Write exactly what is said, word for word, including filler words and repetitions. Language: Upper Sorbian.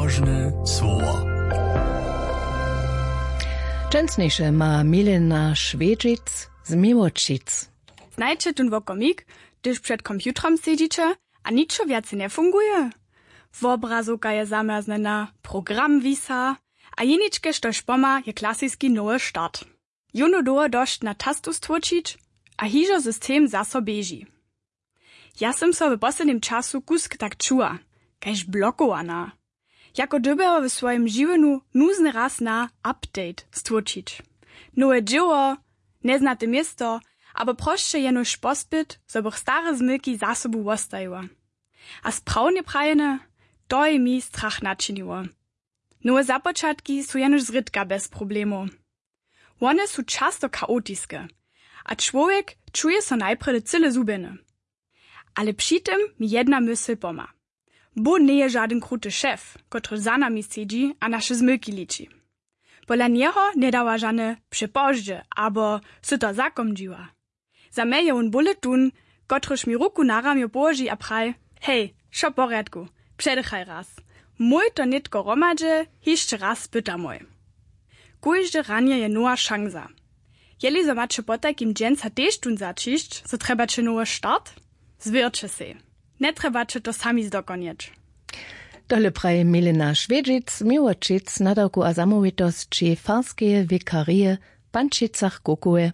Róžne słowa. Dźensniše ma Milena Šwědźic z Miłočic. Znajće tón wokomik, hdyž před komputrom sedźiće a ničo wjace njefunguje? Wobrazowka je zamjerznjena, program wisa a jeničke, štož pomha, je klasiski nowy start. Jónu dołho dosć na tastu stłóčić a hižo system zaso běži. Ja sym so w poslednim času kusk tak čuła, kaž blokowana. Jako dyrbjeło w swojim žiwjenju nuzny raz na update stłóčić. Nowe dźěło, njeznate město, abo prosće jenož pospyt, zo bych stare zmylki za sobu wostajiła. A sprawnje prajene, to je mi strach načiniło. Nowe započatki su jenož zrědka bez problemow. Wone su často chaotiske a čłowjek čuje so najprjedy cyle zhubjeny. Ale při tym mi jedna mysl pomha. Bóh njeje žadyn kruty šef, kotryž za nami sedźi a naše zmylki liči. Pola njeho njedawa žane přepozdźe abo sy to zakomdźiła. Za mnje je wón bóle tón, kotryž mi ruku na ramjo połoži a praji: Hej, wšo w porjadku, předychaj raz. Mój to nětko hromadźe hišće raz spytamoj. Kóžde ranje je nowa šansa. Jeli zo maće potajkim dźensa tež tón zaćišć, zo trjebaće nowy start, zwěrće sej. Njetrjebaće to sami zdokonjeć. Tole praji Milena Šwědźic, Miłočic, nadawku a zamołwitosći farskeje wikarije w Pančicach-Kukowej.